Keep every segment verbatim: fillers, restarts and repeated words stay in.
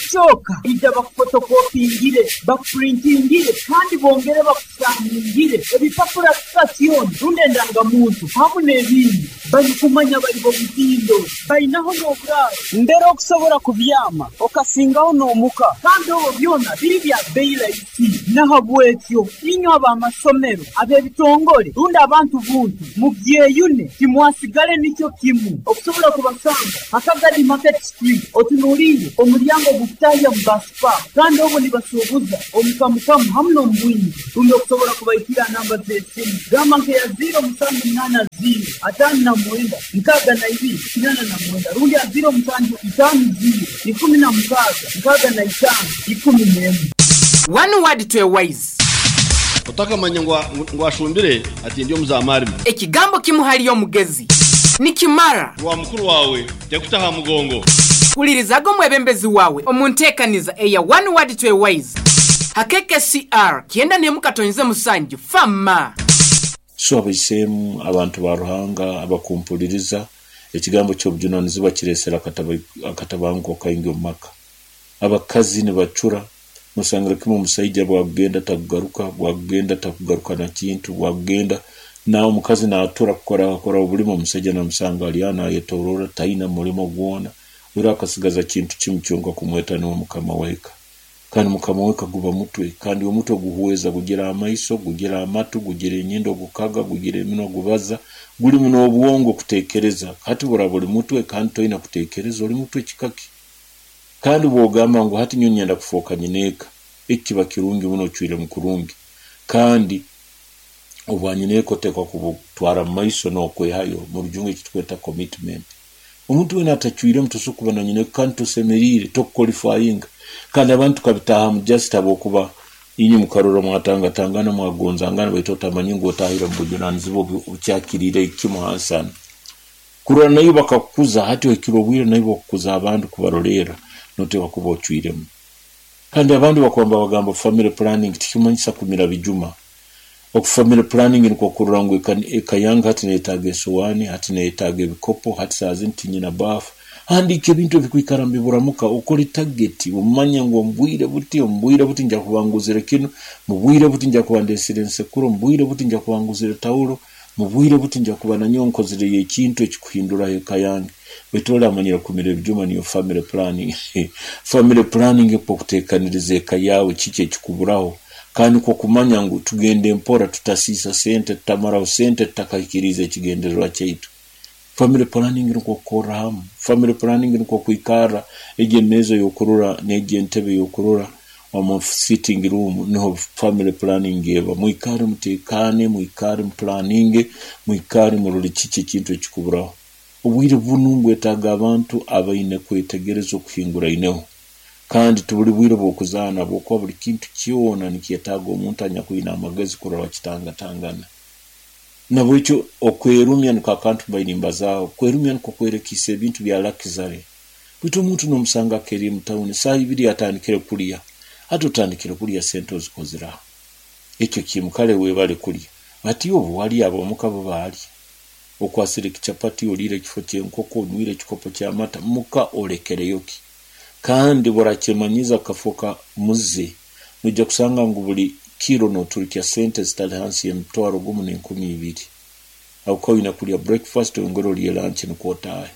Ekyoka ija bakufotokopingire, bakupurintingire kandi bongere bakusaningire ebipapura sitasioni rundi endangamuntu hamu n'ebindi. Balikumanya bali b'omutindo, bainaho n'oburaaro mbere okusobora kubyama okasingaho n'omuka, kandi obwo byona biri bya bei rahisi. Nahabwekyo inywe ab'amasomero, ab'ebitongole rundi abantu buntu mugyeyune, timwasigale nikyo kimu. Okusobola kubasanga Hakagadi Market Street, otunuliire omulyango ogukutahya mu bus park, kandi obwo nibasuubuza omukamukamu hamu n'omu bwingi. Rundi okusobola kubaikira namba z'esimu, gamba nk'eya ziro musanju munaana ziro ataano na mwenda nkaaga na ibiri kinaana na mwenda rundi a ziro musanju itaano ziro ikumi na mukaaga nkaaga na itaano ikumi n'emu. One word to a wise. Otakamanya ngu ngu ashumbire ati ndi omuzamarime. Ekigambo kimu hali omugezi nikimara. Rwa mukuru wawe tekutaha mugongo. Hulirizaga omwebembezi wawe omu nteekaniza eya One Word to a Wise ha K K C R kyenda n'emu katonyeze musanju fama. So abaisemu, abantu ba Ruhanga abakumpuliriza, ekigambo ky'obujunanizibwa kireesere akatabanguko kaingi omu maka. Abakazi nibacura, nosangira kimu omusaija bwakugenda takugaruka, bwakugenda takugaruka na kintu, bwakugenda na omukazi naatura kukora kukora obulimo, omusaija namusanga ali aho nayetoroora, taina mulimo gwona. Era akasigaza kintu kimu kyonka, kumweta niwe mukama w'eka. Kandi mukama w'eka guba mutwe, kandi omutwe guhweza, gugira amaiso, gugira amatu, gugira enyindo gukaga, gugira eminwa gubaza, gulimu n'obwongo kuteekereza. Hati buraba oli mutwe kandi toina kuteekereza, oli mutwe kikaki? Kandi bw'ogamba ngu hati nyowe nyenda kufooka nyineeka, eki kiba kirungi muno, ocwiremu kurungi. Kandi obwanyineeka oteekwa kubutwara mu maiso n'okwehayo, mu Rujungu eki tukweta commitment. Omuntu weena atacwiremu tosobora kuba na nyineeka kandi tosemeriire, tokuqualifyinga. Kandi abantu tukabitaahamu just habwokuba inywe mukarora mwatangatangana, mwagonzangana, baitu otamanyire ngu otahire omu bujunanizibwa obukyakiriire kimu hansi hanu. Kurora naiwe bakakukuza, hati ohikire obwire naiwe okukuza abandi kubarolerra, noteekwa kuba ocwiremu. Kandi abandi bakuba nibabagamba family planning tikimanyisa kumira bijuma. Oku family planning nikwo kurora ngu eka yange hati neyetaaga esowaani, hati neyetaaga ebikopo, hati saaha zinu tinyina baafu. Handiika ebintu ebikwikara nibiburamuka, okole target, omanye ngu omu bwire buti, omu bwire buti nja kuba nguzire kinu, mu bwire buti nja kuba ndeesire ensekuro, mu bwire buti nja kuba nguzire tawulo, mu bwire buti nja kuba nanyowe nkozireyo ekintu ekikuhinduraho eka yange. Baitu oli amanyire kumira ebijuma niyo family planning. Family planning nikwo kuteekaniriza eka yaawe kiki ekikuburaho, kandi nikwo kumanya ngu tugende mpora, tutasiisa sente, tutamaraho sente tutakahikiriize ekigendererwa kyaitu. Family planning nikwo kukorra hamu. Family planning nikwo kwikarra egi emeeza ey'okurora n'egi entebe ey'okurora omu sitting room, niho family planning eba. Mwikale muteekaane, mwikale muplanninge, mwikale murole kiki ekintu ekikuburaho. Obwire bunu mbwetaaga abantu abaine kwetegereza okuhinguraineho. Kandi tibuli bwire bw'okuzaana, habwokuba buli kintu kyona nikyetaaga omuntu anyakwine amagezi kurora wakitangatangana. Nabwekyo okwerumya niko akantu mbaire nimbazaaho. Kwerumya nikwo kwerekiisa ebintu bya luxury. Baitu omuntu nomusanga akeeriire mu tawuni, saaha ibiri atandikire kulya. Hati otandikire kulya, sente ozikozire? Ekyo kimu, kale webale kulya. Ati obu walya, ab'omuka bo baalya? Okwasire ekichapati, oliire ekifo ky'enkoko, onywire ekikopo ky'amata, muka olekereyo ki? Kandi burakyemanyiza kafooka muze, noija kusanga ngu buli kiro noturukya sente zitali hansi y'emitwaro gumu n'enkumi ibiri. Habwokuba oine kulya breakfast, oyongere olye lunch, nukwo otaahe.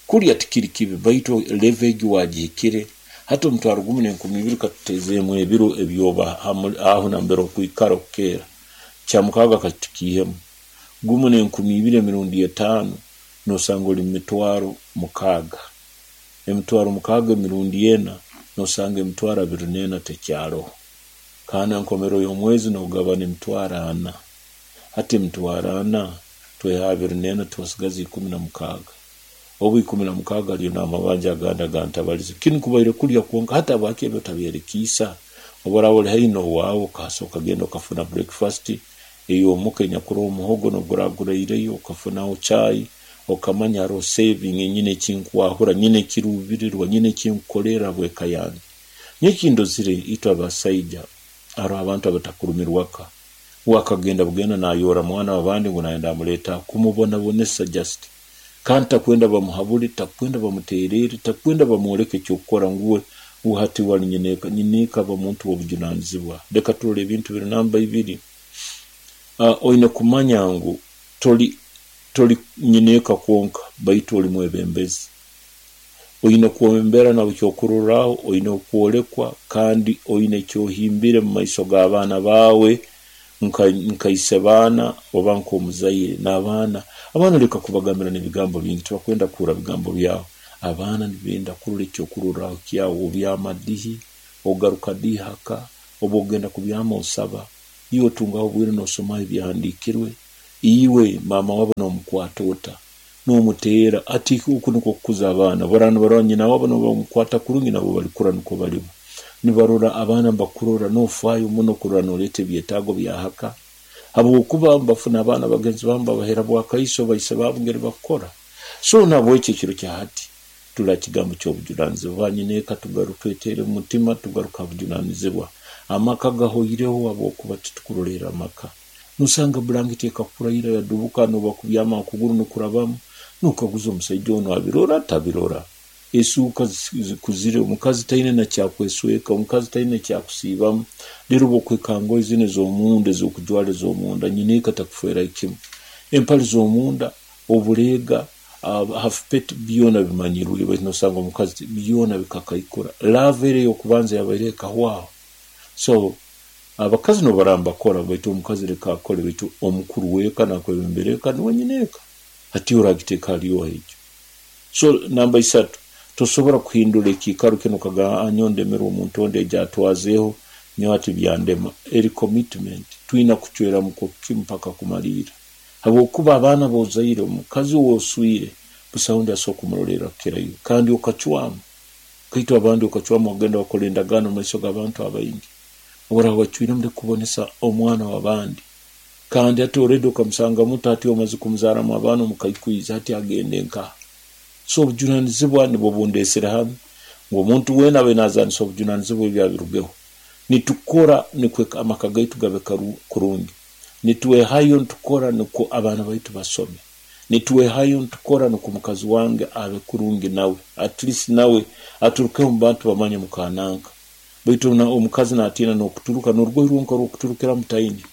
Kulya tikiri kibi, baitu level egi wagihikire. Hati omutwaro gumu n'enkumi ibiri katuteezeemu ebiro ebyoba aho nambere okwikara okukeera. Kyamukaaga katukiihemu. Gumu n'enkumi ibiri emirundi etaano nosanga oli mu mitwaro mukaaga. Emitwaro mukaaga emirundi ena nosanga emitwaro abiri n'ena tekyaroho. Kandi enkomero y'omwezi nogabana emitwaro ana. Hati emitwaro ana tweha abiri n'ena, twasigaza ikumi na mukaaga. Obu ikumi na mukaaga hariyo n'amabanja agandi agantabalize. Kinu kubaire kulya kwonka, hati habwaki ebi otabyerekiisa? Obu oraaba oli haihi n'owaawe okahasa okagenda okafuna breakfast ey'omuka enyakuroho omuhogo n'obu guraireyo, okafunaho chai, okamanya haroho saving, nyine ekinkwahura, nyine ekiruubirirwa, nyine ekinkukolerra habw'eka yange. Nyowe ekindozire, itwe abasaija haroho abantu abatakurumirwaka. We akagenda bugenda nayoora mwana w'abandi ngu nayenda amuleeta kumubonabonesa just. Kandi takwenda bamuhabule, takwenda bamuteerere, takwenda bamwoleke eky'okukora, ngu we Hati wali nyineeka, nyineeka aba muntu w'obujunanizibwa. Leka turole ebintu biri namba ibiri. Uh, oine kumanya ngu toli toli nyineeka kwonka, baitu oli mwebembezi. Oine kwembera nabo kyokurorraho, oine okwolekwa, kandi oine ekyohimbire mu maiso g'abaana baawe nka nka ise baana oba nk'omuzaire n'abaana. Abaana leka kubagambira n'ebigambo bingi, tibakwenda kuhurra bigambo byawe. Abaana nibenda kurora ekyokurorraho kyawe, obyama dihi, ogaruka dihi haka, oba ogenda kubyama osaba, iwe otungaho obwire n'osomaho ebyahandiikirwe, iwe maama wabo n'omukwata ota, n'omuteera ati oku nikwo kukuza abaana. Baraba nibarora nyina wabo nibamukwata kurungi, nabo balikura nukwo balibo. Nibarora abaana nibakurora n'ofaayo muno kurora noleeta ebyetaago bya haka, habwokuba bafuna abaana bagenzi baabo babahera bwakaiso baise baabo ngeri bakukora. So nabwekyo ekiro kya hati tula kigambo ky'obujunanizibwa. Banyineeka tugaruke twetere mu mutima, tugaruka ha bujunanizibwa. Amaka gahoireho habwokuba titukurolerra amaka. Nosanga bulangiti ekakuraira yadubuka, noba kubyama okuguru nukurabamu, nokaguza omusaija onu abirora atabirora. Esuuka zikuzire, omukazi taine nakyakwesweka, omukazi taine kyakusiibamu. Rero bwokwekanga zinu ez'omunda ez'okujwara ez'omunda, nyineeka takufeera kimu. Empale z'omunda, obuleega, uh, half pet byona bimanyirwe, baitu nosanga omukazi byona bikakaikura. Love eri ey'okubanza yabaire ekahwaho. So abakazi nobaraba nibakora, baitu omukazi leka akole, baitu omukuru w'eka nakwebembera eka nuwe nyineeka. Hati oragiteeka hali oha ekyo? So namba isatu, tosobora kuhindura ekiikaro kinu okagamba nyowe ndemerwe omuntu ondi ejo atwazeeho, nyowe hati byandema. Eri commitment, twina kucweramu kimu mpaka kumaliira. Habwokuba abaana bozaire, omukazi ow'oswire, busaho ondi asobora kumurolerra kukirayo. Kandi okacwamu, kaitu abandi okacwamu ogenda wakora endagaano mu maiso g'abantu abaingi. Oraba wacwiremu ndikubonesa omwana w'abandi. Kandi hati already okamusanga muto, hati omaze kumuzaaramu abaana omukaikwiza, hati agende nkaha? So obujunanizibwa nibwo bundeesere hanu, ngu omuntu weena abe nazaanisa obujunanizibwa ebi abirugeho. Nitukora nikwo amaka gaitu gabe kurungi. Nitwehayo nitukora nikwo abaana baitu basome. Nitwehayo nitukora nikwo omukazi wange abe kurungi nawe. At least nawe aturukeho mu bantu bamanye mukananka. Baitu omukazi natiina n'okuturuka, n'orugoye rwonka rw'okuturukiramu taine.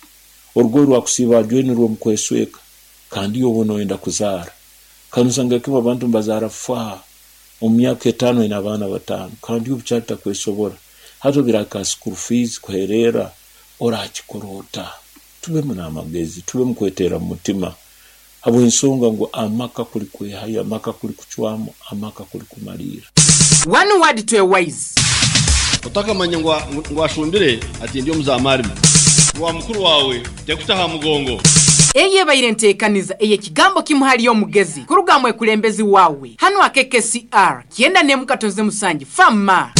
Orugoye rwakusiiba ajwaire nirwo mukwesweka, kandi iwe oba noyenda kuzaara. Kandi osanga kimu abantu nibazaara faa, omu myaka etaano aine abaana bataano, kandi iwe bukyali takwesobora. Hati obiraka school fees kuhereera, orakikora ota? Tubemu n'amagezi, tubemu kweteera mu mutima, habw'ensonga ngu amaka kuli kwehayo, amaka kuli kucwamu, amaka kuli kumaliira. One word to a wise. Otakamanya ngu ngu ashumbire ati ndi omuzamarime wa mukuru wawe tekutaha mugongo. Eyo ebaire nteekaniza ey'ekigambo kimu hali omugezi kuruga mwekulembezi wawe hanu akeke C R kyenda n'emu katonze musanju fama.